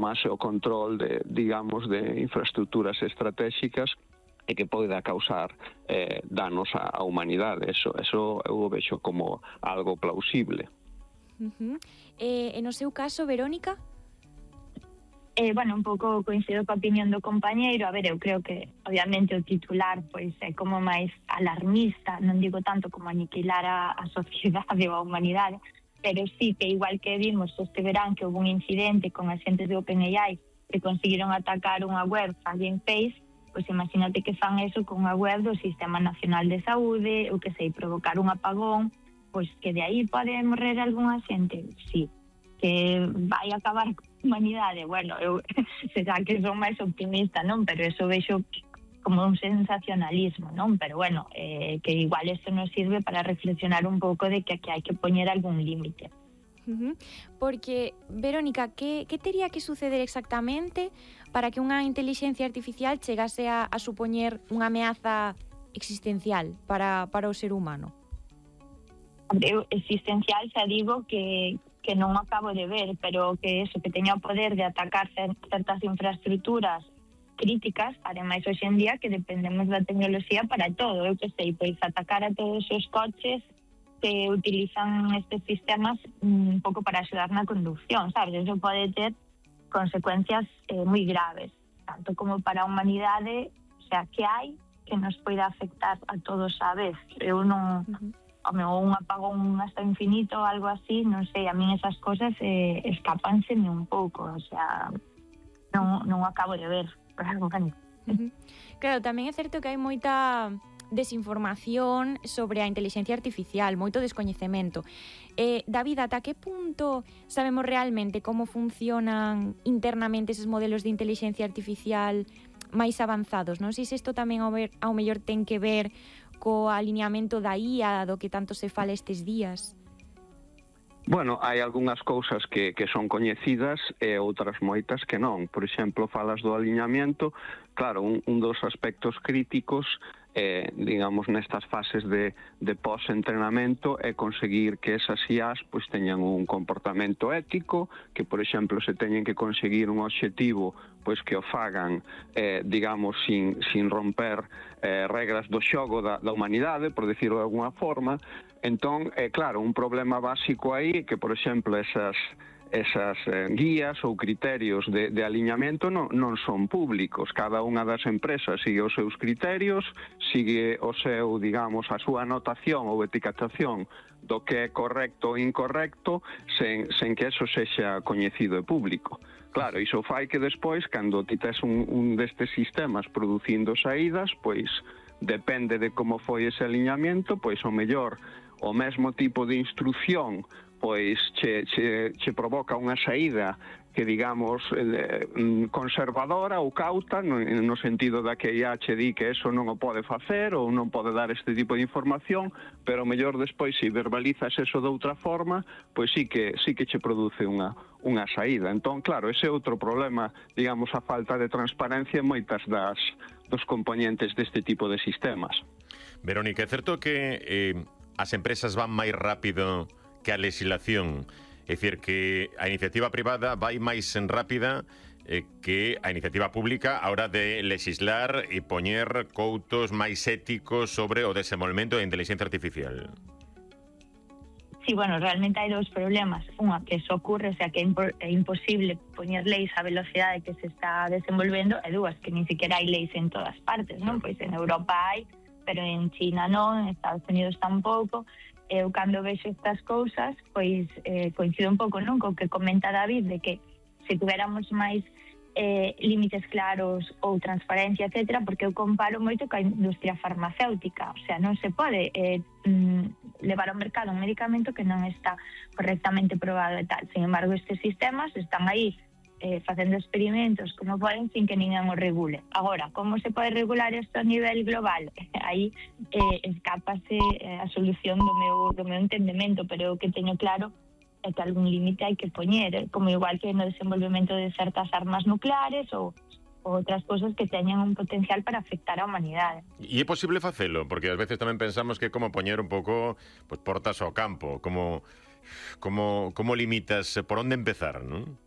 tomase o control de, digamos, de infraestructuras estratégicas e que poida causar danos á humanidade. Eso eu o vexo como algo plausible. E no seu caso, Verónica? Bueno, un pouco coincido coa opinión do compañeiro. A ver, eu creo que obviamente o titular pois é como máis alarmista, non digo tanto como aniquilar a sociedade ou a humanidade, pero sí que igual que vimos este verán que houve un incidente con agentes de OpenAI que conseguiron atacar unha web Hugging Face, pois imagínate que fan eso con unha web do Sistema Nacional de Saúde, ou que sei, provocar un apagón, pois que de aí pode morrer algunha xente, sí. Que vai acabar con a humanidade, bueno, eu será que son máis optimista, non? Pero eso vexo como un sensacionalismo, non? Pero bueno, que igual isto nos sirve para reflexionar un pouco de que aquí hai que poñer algún límite. Porque, Verónica, que tería que suceder exactamente para que unha inteligencia artificial chegase a supoñer unha ameaza existencial para o ser humano? Existencial xa digo que non acabo de ver, pero que eso, que teña o poder de atacar certas infraestructuras críticas, ademais hoxe en día que dependemos da tecnoloxía para todo, eu que sei, pois atacar a todos os coches que utilizan estes sistemas un pouco para axudar na conducción, sabes? Eso pode ter consecuencias moi graves, tanto como para a humanidade, o sea, que hai que nos poida afectar a todos a vez. Eu non... un apagón hasta infinito ou algo así, non sei, a min esas cosas escápanseme un pouco, o sea, non acabo de ver. Claro, tamén é certo que hai moita desinformación sobre a inteligencia artificial, moito descoñecemento. David, ata que punto sabemos realmente como funcionan internamente eses modelos de inteligencia artificial máis avanzados? Non sei se isto tamén ao mellor ten que ver co alineamento da IA do que tanto se fala estes días. Bueno, hai algunhas cousas que son coñecidas e outras moitas que non. Por exemplo, falas do aliñamento. Claro, un dos aspectos críticos, digamos, nestas fases de pós-entrenamento é conseguir que esas IAs pois teñan un comportamento ético, que, por exemplo, se teñen que conseguir un obxectivo pois que o fagan, digamos, sin romper regras do xogo da humanidade, por decirlo de alguna forma. Entón, claro, un problema básico aí que, por exemplo, esas guías ou criterios de aliñamento non son públicos. Cada unha das empresas sigue os seus criterios, sigue o seu, digamos, a súa anotación ou etiquetación do que é correcto ou incorrecto sen que eso sexa coñecido e público. Claro, iso fai que despois, cando ti tes un destes sistemas producindo saídas, pois depende de como foi ese aliñamento, pois o mellor o mesmo tipo de instrucción pois che provoca unha saída que, digamos, conservadora ou cauta, no sentido da que IA che di que eso non o pode facer ou non pode dar este tipo de información, pero mellor despois, se verbalizas eso de outra forma, pois sí que che produce unha saída. Entón, claro, ese é outro problema, digamos, a falta de transparencia en moitas dos componentes deste tipo de sistemas. Verónica, é certo que as empresas van máis rápido que a legislación, é dicir, que a iniciativa privada vai máis rápida que a iniciativa pública a hora de legislar e poñer coutos máis éticos sobre o desenvolvemento da inteligencia artificial. Sí, bueno, realmente hai dous problemas. Unha, que eso ocurre, o sea, que é imposible poñer leis á velocidade que se está desenvolvendo, e dúas, que nin siquiera hai leis en todas partes, non? Pois en Europa hai, pero en China non, en Estados Unidos tampouco. Eu cando vexo estas cousas, pois coincido un pouco, non, co que comenta David, de que se tuviéramos máis límites claros ou transparencia, etcétera, porque eu comparo moito ca industria farmacéutica, o sea, non se pode levar ao mercado un medicamento que non está correctamente probado e tal. Sin embargo, estes sistemas están aí facendo experimentos como poden sin que ninguén o regule. Agora, como se pode regular isto a nivel global? Aí escápase a solución do meu entendemento, pero o que teño claro é que algún límite hai que poñer, como igual que no desenvolvemento de certas armas nucleares ou outras cousas que teñen un potencial para afectar a humanidade. E é posible facelo? Porque ás veces tamén pensamos que é como poñer un pouco portas ao campo, como limitas, por onde empezar, non?